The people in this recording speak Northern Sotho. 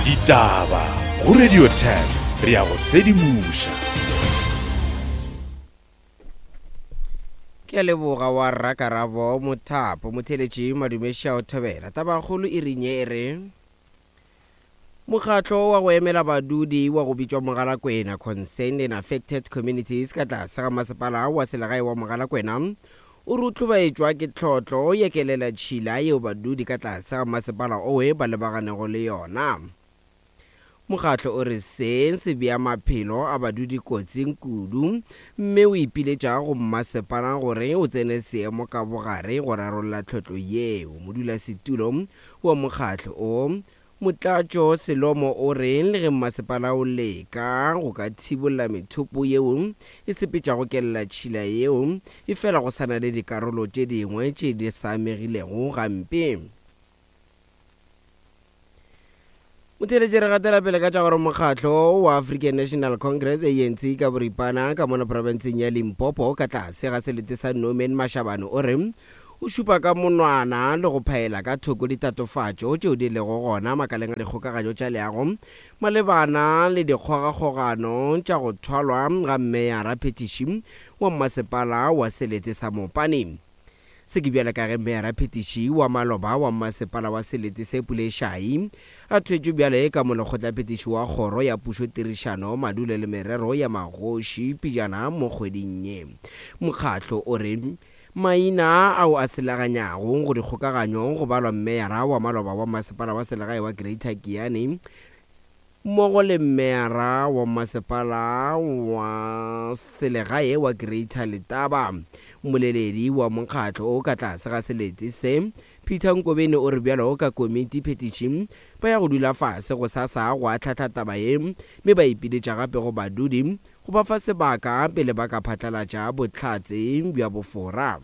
Ditaba go Radio 10 re a go sedimoša. Ke a leboga wa rra Karabo Mothapo motheletši Madumeša o thobela. Tabakgolo e rinye e re Mokgatlo wa go emela badudi wa go bitšwa Mogalakwena Concerned and Affected Communities ka tlase ga masepala wa selegae wa Mogalakwena o re o hlobaetšwa ke tlhotlo ya kelelatšhila yeo badudi ka tlase ga masepala owe ba lebaganego le yona. Mokgatlo o re se se bea maphelo a badudi kotsing kudu mme o ipiletša go mmasepala gore o tsene seemo ka bogare go rarolla tlhotlo yeo. Modulasetulo wa mokgatlo o, Motlatšo Selomo o re le ge mmasepala o leka go ka thibolla methopo yeo e sepetšago kelelatšhila yeo, efela go sa na le dikarolo tše dingwe tše di sa amegilego gampe. Motheeletši re gatela pele ka tša gore mokgatlo wa African National Congress, ANC, ka boripana ka mono profenseng ya Limpopo ka tlase ga selete sa Norman Mashabane o re o šupa ka monwana le go phaela ka thoko ditatofatšo tšeo di lego gona makaleng a dikgokaganyo tša leago malebana le dikgogakgogano tša go thwalwa ga mmeyara phethiši wa mmasepala wa selete sa Mopani. Se ke bjale ka ge Meyara Phetiši wa maloba wa Mmasepala wa Selete se Pule Shai a thwetšwe bjale ka Molekgotlaphethiši wa Kgoro ya Pušo Tirišano, Madulo le Merero ya Magoši pejana mo kgweding ye. Mokgatlo o re maina ao a selaganyago go dikgokaganyo go balwa Meyara wa maloba wa Mmasepala wa Selegae wa Greater Giyani, mmogo le Meyara wa Masepala wa Selegae wa Greater Letaba. Mmoleledi wa mokgatlo o ka tlase ga selete se, Peter Nkobeni o re bjalo ka komiti phethiši ba ya go dula fase gosasa go ahlahla taba ye mme ba ipiletša gape go badudi go ba fa sebaka pele ba ka phatlalatša bohlatse bja bofora.